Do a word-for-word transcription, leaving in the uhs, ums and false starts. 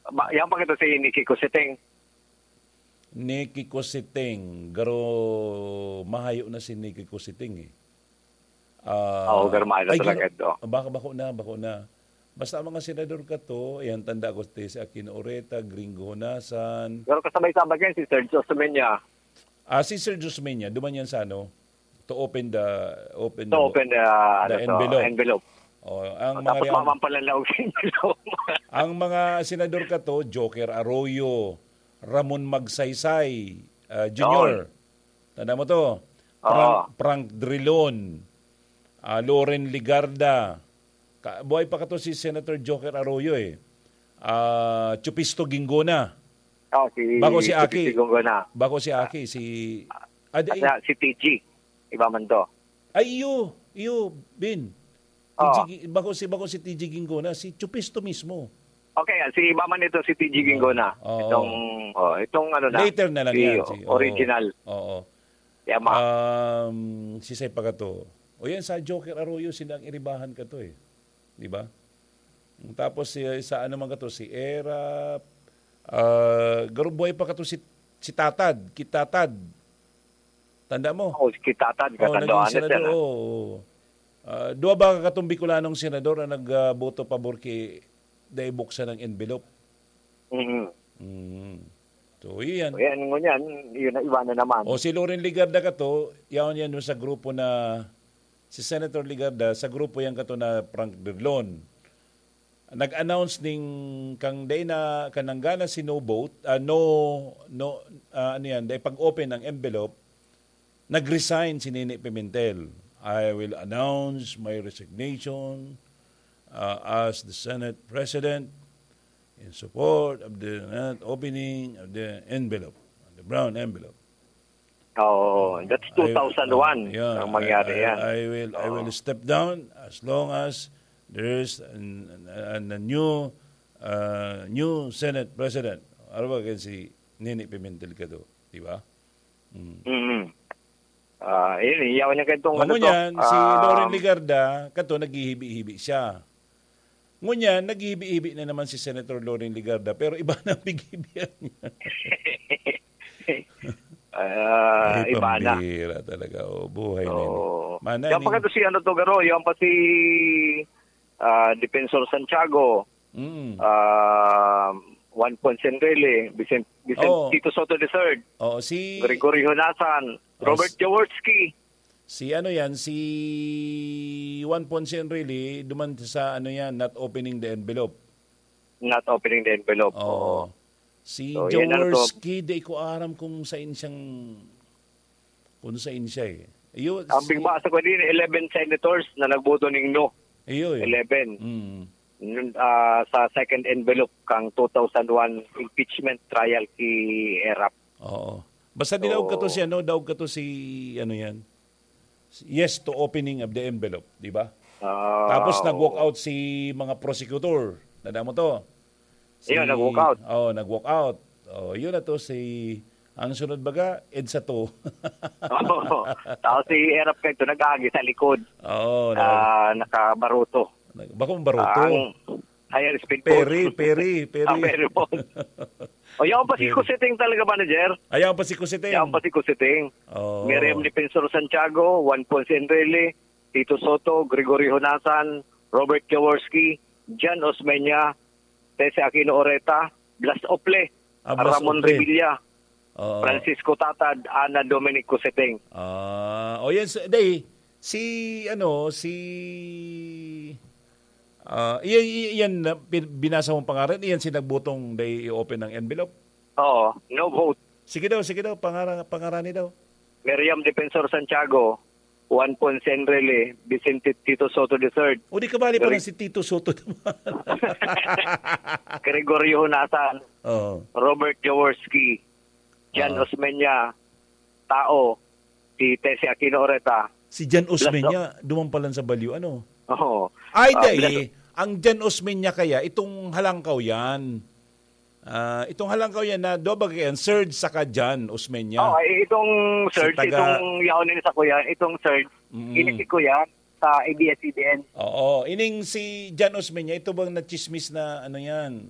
Ba, yan pa kita si Nikki Cositing. Nikki Cositing. Garo mahayo na si Nikki Cositing eh. Ah, Oo, garo mahayo na Ay, talaga garo- ito. Baka bako na, bako na. Basta ang mga senador ka to, yan tanda ko si Aquino Oreta, Gringo Honasan. Pero kasabay-sabay yan si Sergio Osmeña. Ah, si Sergio Osmeña, duman yan sa ano, to open the, open To the, open the, the ano to, envelope. envelope. Oh, ang Oh, mga tapos riyan- mamang pala laog sa envelope. Ang mga senador ka to, Joker Arroyo, Ramon Magsaysay, ah, Junior. Yun. Tanda mo to? Oo. Frank, Frank Drilon, ah, Loren Legarda. Ka-, buhay pa ka to si Senator Joker Arroyo eh. Ah, Chupisto Gingona. Oh, si Bako si Chupisto Aki. Gingona. Bako si Aki, si Adi, At na, si T G. Iba man to. Ay, iyo, iyo, Bin. Oo. T G Gi-, bako si, bako si T G Gingona, si Chupisto mismo. Okay, ah, si iba man ito, si T G Oo. Gingona. Oo. Itong, oh, itong ano na, Later na lang si yan, si, oo. original. Oo. Yama. Um, si Sai Pagato. O yan, sa Joker Arroyo, sila ang iribahan ka to eh. Di ba? Tapos si, sa ano man ka to, si Erap, ah, garo buhay pa ka to si, si Tatad, Kitatad. Tanda mo? Oo, si Kitatad, Oo, katandaan naging na siya senador, na. oo, oo. Ah, duwa ba katong Bicolanong senador ang nagboto pabor ki dai buksan ang envelope? Mhm. Mm. So, iyan. So, yan, ngunyan, yun na, iba na naman. O, si Loren Legarda ka to, yaon yan dun sa grupo na, si Senator Legarda, sa grupo yan ka to na Frank Drilon. Nag-announce ning kang dai na, kanang gana si no vote, ah, no, no, ah, ano yan, dai pag-open ang envelope, nag-resign si Nini Pimentel. "I will announce my resignation, uh, as the Senate President in support of the not opening of the envelope, the brown envelope." Oo, that's I, two thousand one uh, yeah, ang mangyari I, I, yan. I will, I will Oo. step down as long as there is an, an, a new, uh, new Senate President. Ano ba, kan si Nini Pimentel ka to, di ba? Mm. Mm. Ah, yun, iyaw niya kayong Mao ano to, ngunyan, si ah, Loren Legarda, kato, naghihibi-hibi siya. Ngunyan, naghihibi-hibi na naman si Senator Loren Legarda, pero iba na ang pighibian niya. Ah, Ay, iba na. Pambira talaga, oh, buhay na yun. Oo. Mana Yan pa ni- kato si ano to, Garo, yan pa si, ah, Defensor Santiago. Mm. Ah, Juan Ponce Enrile, Vicent-, Vicent-, Oo. Tito Soto the third, Oo, si Gregory Honasan, Oh, Robert s- Jaworski. Si ano yan, si Juan Ponce Enrile, duman sa ano yan, not opening the envelope. Not opening the envelope. Oo. Oo. Si So, yan ang Jaworski, di ko aram kung saan siyang, kung saan siya eh. Iyo, Ang si big basa ko din, eleven senators na nagboto ning no. Iyo eh. Eleven. Mm. Yun, ah, sa second envelope kang two thousand one impeachment trial si Erap. Oo. Basta dilaog ka to So si ano, daog ka to si, ano yan? Yes to opening of the envelope, di ba? Ah, Tapos oo. nag-walk out si mga prosecutor. Tanda mo to? Si Yun, nag-walk out. Oh, nag-walk out. Oh, yun na to si, ang sunod baga, EDSA to. Oo. Tapos si Erap kayo to, nag-aagi sa likod. Oo, na Ah, nakabaruto. Nag-, bakong baruto. Ang higher speed Peri, boat. Peri, Peri. Ah, Peri boat. O, yan pa si Peri. Kusiting talaga, manager. Ayan pa si Kusiting. Yan pa si Kusiting. Oo. Miriam Defensor Santiago, Juan Ponce Enrile, Tito Soto, Gregory Honasan, Robert Jaworski, Jan Osmeña, Tese Aquino Oreta, Blas Ople, Ah, Blas Ramon Ople. Revilla, Oo. Francisco Tatad, Ana Dominic Kusiting. Ah, o yan, si, day, si, ano, si, ah, iyan, iyan, iyan na, pin-, binasa mong pangaran, iyan si nagbutong day i-open ng envelope? Oo, no vote. Sige daw, sige daw, pangaran, pangarani daw. Miriam Defensor Santiago, Juan Ponce Enrile, Vicente Tito Soto the third. O di kabali pa Gre- lang si Tito Soto naman. Gregorio Honasan, Oo. Robert Jaworski, Jan Oo. Osmeña, Tao, si Tese Aquino Oreta. Si Jan Osmeña, duman pa lang sa Balyo, ano? Oo. Ay, Ah, dai. Blas- Ang Jan Osmeña kaya, itong halangkaw yan. Ah, itong halangkaw yan na, do ba yan? Serge saka Jan Osmeña. Oh, ay, itong Serge, taga- itong yaon ni sa kuya, itong Serge, Mm. ini si kuya sa A B S C B N. Oo, ining si Jan Osmeña, ito bang nachismis na ano yan?